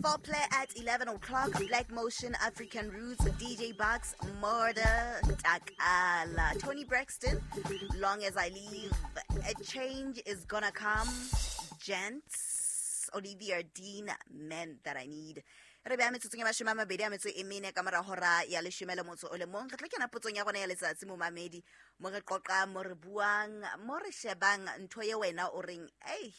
Foreplay at 11 o'clock, Black Motion, African Roots, DJ Bucks, Murder, Takala, Toni Braxton, Long As I Live, A Change Is Gonna Come, Gents, Olivia Dean, Men That I Need. Re beya metsotsong ya 24 ka mora hora ya 11. Re tlo kena potsong ya rona ya letsatsi, momamedi, mo re qoqang, mo re buang, mo re shebang ntho ye wena o reng, ei,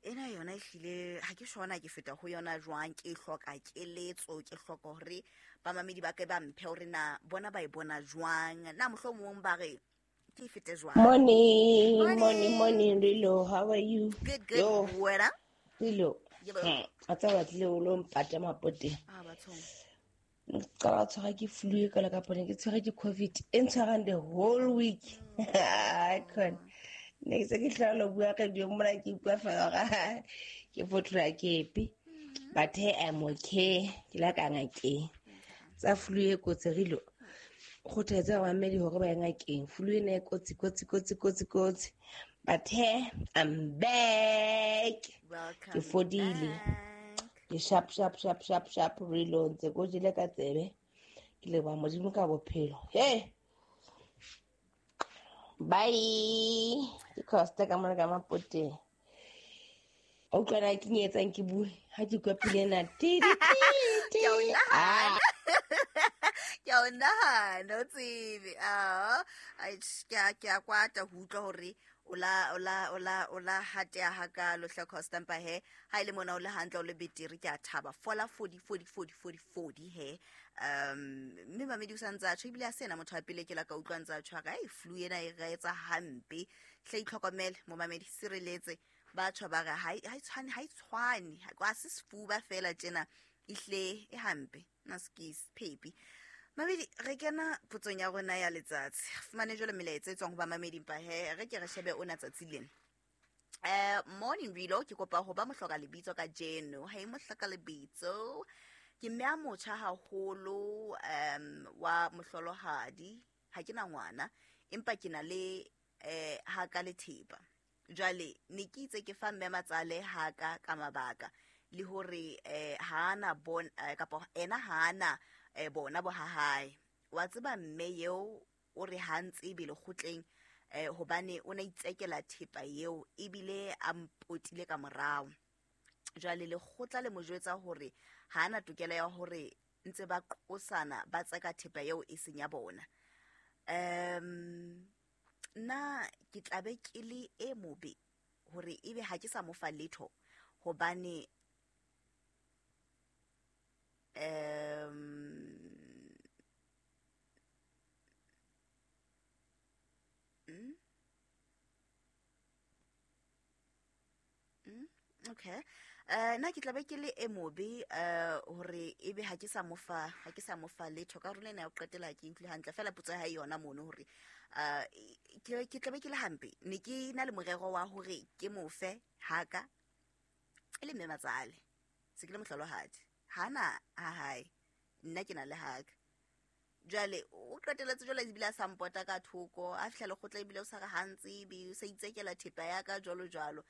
ena yona ehlile ha ke shona ke feta ho yona jwang, ke hloka keletso, ke hloka hore bamamedi ba ke ba mphe hore na bona ba e bona jwang, na mohlomong ba re ke e fete jwang. Morning, morning, morning, Rilo. How are you? Good, good. Yo. Wena? Rilo. Yebo. A tsa batlile o lo mpata mapoteng. Ah, bathong. Ka ba tshwara ke flu e kala ka pone, ke tshwere ke COVID e ntshwarang the whole week. Ai, khona. Ne ke se ke hlola ho bua radio mona, ke bua fela hore ke fotloha ke epe. But hey, I'm okay. Ke la ka ngakeng. Tsa flu e kotsi, Rilo. Kgothatsa bamamedi hore ba ye ngakeng. Flu ena e kotsi, kotsi, kotsi, kotsi, kotsi. But hey, I'm back. Welcome Ke fodile. back. Ke sharp, sharp, sharp, sharp, sharp, Rilo. Ntse ko jele ka tsebe. Ke leboha Modimo ka bophelo. Hey. Bye. Ke Costa ka mona ka Mapoteng. O utlwa na ke etsang ke bue ha ke kwa pina ena. Ti, ti, ti, ti. Ke a o nahana. Ah. Ke a o nahana, o tsebe. Ah, ai, ke a kwata ho utlwa hore o la hateha hakalo hle Costa, empa he, ha e le mona o le hantle, o le betere, ke a thaba. Fola, fodi, fodi, fodi, fodi, fodi he. Mme mamedi o sa ntse a tjho, ebile a se ena motho wa pele ke la ka utlwa ntse a tjho, a re, ai, flu ena e re etsa hampe. Hle itlhokomele, momamedi, sireletse. Ba tjho ba re, ha e, ha e tshwane, ha e tshwane. Ha se sefuba fela tjena, ehle e hampe. Nna se ke phepi. Mamedi, re kena potsong ya rona ya letsatsi. Re fumane jwale melaetsa e tswang ho bamamedi, empa he, re ke re shebe ona tsatsi lena. Morning Rilo, ke kopa ho ba mohloka lebitso kajeno. Hey, mohloka lebitso. Ke mme a motjha haholo, wa mohlolohadi. Ha ke na ngwana, empa ke na le, ha ka le thepa. Jwale ne ke itse ke fa mme matsale ha ka ka mabaka le hore, ha ana bon, kapa ena ha ana, bona bo ha hae. Wa tseba mme eo o re ha ntsebe lekgotleng, hobane o na itsekela thepa eo ebile a mpotile ka morao. Jwale lekgotla le mo jwetsa hore ha ana tokelo ya hore ntse ba qosana ba tseka thepa eo e seng ya bona. Nna ke tla be ke le e mobe hore ebe ha ke sa mo fa letho hobane, okay. Nna ke tla be ke le e mobe, hore ebe ha ke sa mo fa, ha ke sa mo fa letho. Ka rona ena ya ho qetela ke utlwe hantle fela potso ya hae yona mono hore, ke tla be ke le hampe. Ne ke na le morero wa hore ke mo fe haka e le mme matsale. Se ke le mohlolohadi. Hana ha hae. Nna ke na le haka. Jwale o qetelletse jwale ebile a sa mpota ka thoko, a fihla lekgotla ebile o sa re ha ntsebe, o sa itsekela thepa ya ka jwalo jwalo.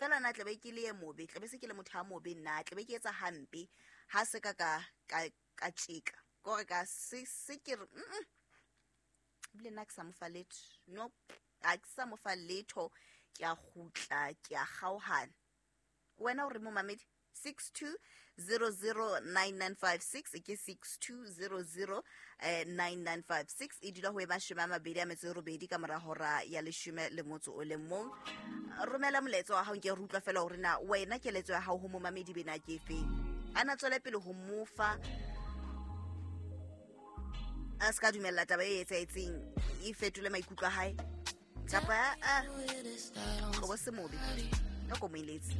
Fela nna tla be ke le e mobe, tla be se ke le motho a mobe nna, tla be ke etsa hampe ha se ka ka, ka, ka tjeka. Ke hore ka se, se ke re, Ebile nna ke sa mo fa letho. No, ha ke sa mo fa letho, ke a kgutla, ke a kgaohana. Wena o re momamedi, 62009956, ke 6200, 9956, e dula ho e 28 ka mora hora ya 11. Romela molaetsa wa hao, nke re utlwa fela hore na wena keletso ya hao ho momamedi bena ke efe. A na tswele pele ho mo fa, a se ka dumella taba e etsahetseng e fetole maikutlo a hae, kapa a, qobo se mobe, ka ko mo eletse.